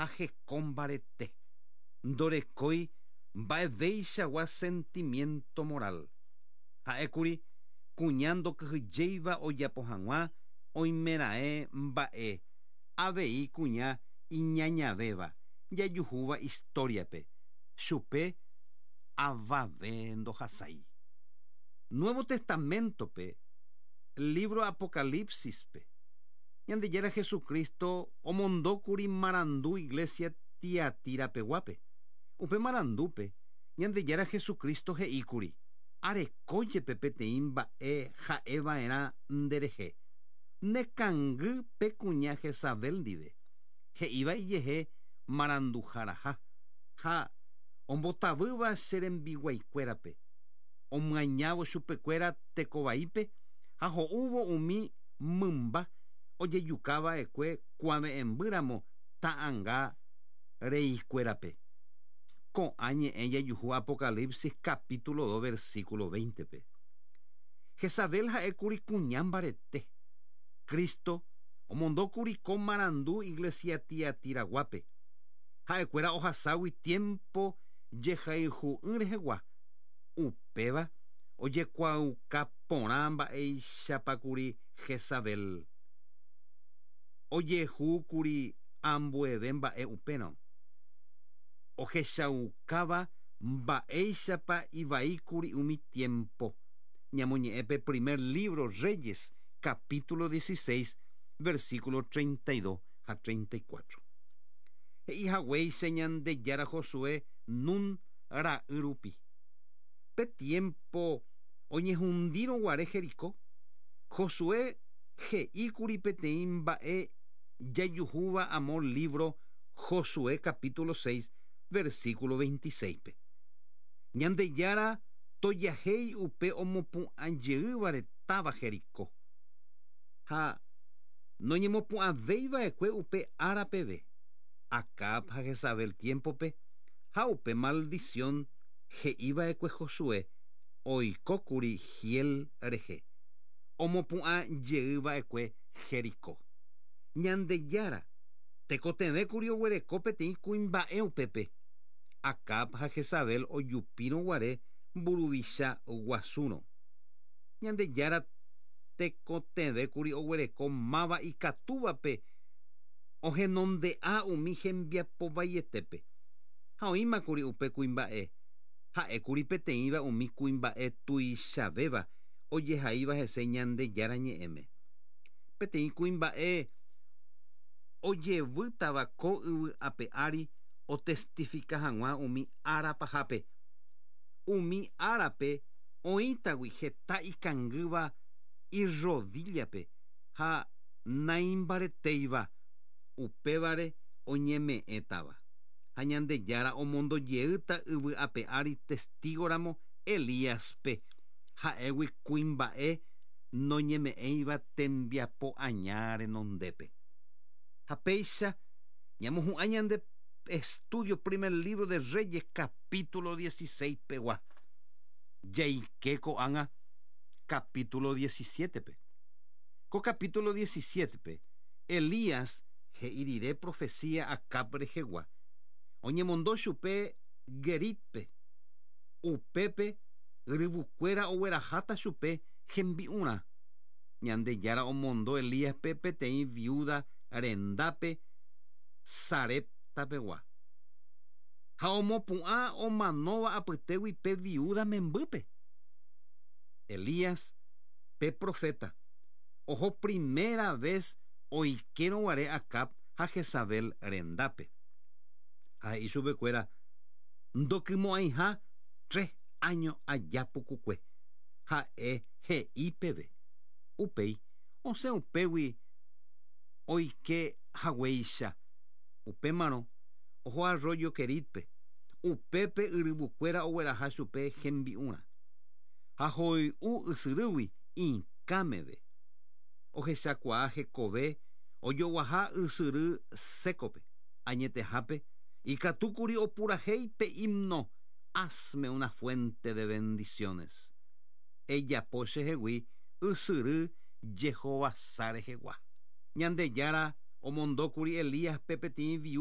ha heko mbarete. Ndorekói mba'eveichagua sentimiento moral. Ha'ékuri kuña ndokyhyjéiva ojapo hag̃ua oimeraẽ mba'e, avei kuña iñañavéva jajuhúva historia-pe, chupe avave ndohasái. Nuevo Testamento-pe, libro Apocalipsis-pe, Ñandejára Jesucristo omondókuri marandu iglesia Tiatira-peguápe. Upe marandúpe, Ñandejára Jesucristo he'íkuri, Areko jepe peteĩ mba'e ha'eva'erã nderehe, nekangy pe kuña Jezabel ndive, he'íva ijehe maranduharaha, ha ombotavýva che rembiguaikuérape, omyañávo chupekuéra tekovaípe ha ho'úvo umi mymba ojejuka va'ekue kuave'ẽmbýramo ta'anga reikuérape. Ko'ã ñe'ẽ jajuhu Apocalipsis capítulo 2 versículo 20-pe. Jezabel ha'ékuri kuña mbarete. Cristo omondókuri ko marandu iglesia Tiatiraguápe, ha'ekuéra ohaságui tiempo jehayhu'ỹ rehegua, upéva ojekuaauka porã mba'eichapakuri Jezabel. Ojehúkuri ambueve mba'e upérõ, ohechaukáva mba'éichapa ivaíkuri umi tiempo. Ñamoñe'ẽ pe primer libro Reyes, capítulo 16, versículo 32 ha 34. He'i haguéicha Ñandejára Josué Nun ra'y rupi. Pe tiempo oñehundírõ guare Jericó, Josué he'íkuri peteĩ mba'e jajuhúva amo libro Josué capítulo 6, versículo 26-pe. Ñandejára tojahéi upe omopu'ãjeývare táva Jericó. Ha noñemopu'ãvéiva'ekue upe ára peve, Acab ha Jezabel tiempo-pe, ha upe maldición he'iva'ekue Josué oikókuri Hiel rehe, omopu'ãjeýva'ekue Jericó. Ñandejára tekotevẽkuri oguereko peteĩ kuimba'e upépe, Acab ha Jezabel ojupírõ guare mburuvicha guasúrõ. Ñandejára tekotevẽkuri oguereko máva ikatúvape ohenonde'a umi hembiapo vaietépe. Ha oĩmakuri upe kuimba'e, ha'ékuri peteĩva umi kuimba'e tuichavéva ojehaíva hese Ñandejára ñe'ẽme. Peteĩ kuimba'e ojevýtava ko yvy ape ári otestifika hag̃ua umi ára pahápe. Umi árape oĩtagui heta ikangýva irrodíllape ha naimbaretéiva, upévare oñeme'ẽtava. Ha Ñandejára omondo jeýta yvy ape ári testígoramo Elíaspe, ha'égui kuimba'e noñeme'ẽiva tembiapo aña renondépe. Ha péicha ñamohu'ã ñande estudio primer libro de Reyes capítulo 16 pegua. Jaike ko'ág̃a capítulo 17-pe. Ko capítulo 17-pe, Elías he'i rire profecía Acab rehegua, oñemondo chupe Guerit-pe, upépe yryvukuéra ogueraháta chupe hembi'urã. Ñandejára omondo Elíaspe peteĩ viúda rendápe Sarepta-pegua. Ha omopu'ã omanóva apytégui pe viúda membýpe. Elías, pe proféta, oho primera ves oikérõ guare Acab ha Jezabel rendápe. Ha he'i chupekuéra ndokymo'ãiha tres áño aja pukukue, ha'e he'i peve. Upéi osẽ upégui oike haguéicha. Upémarõ oho arroyo Querit-pe, upépe yryvukuéra ogueraha chupe hembi'urã. Ha hoy'u ysyrýgui ikã meve. Ohechakuaa hekove ojoguaha ysyry sékope. Añetehápe, ikatúkuri opurahéi pe himno Hazme una fuente de bendiciones. Ejapo chehegui ysyry jehovasa rehegua. Ñandejára omondókuri Elíaspe peteĩ viúda.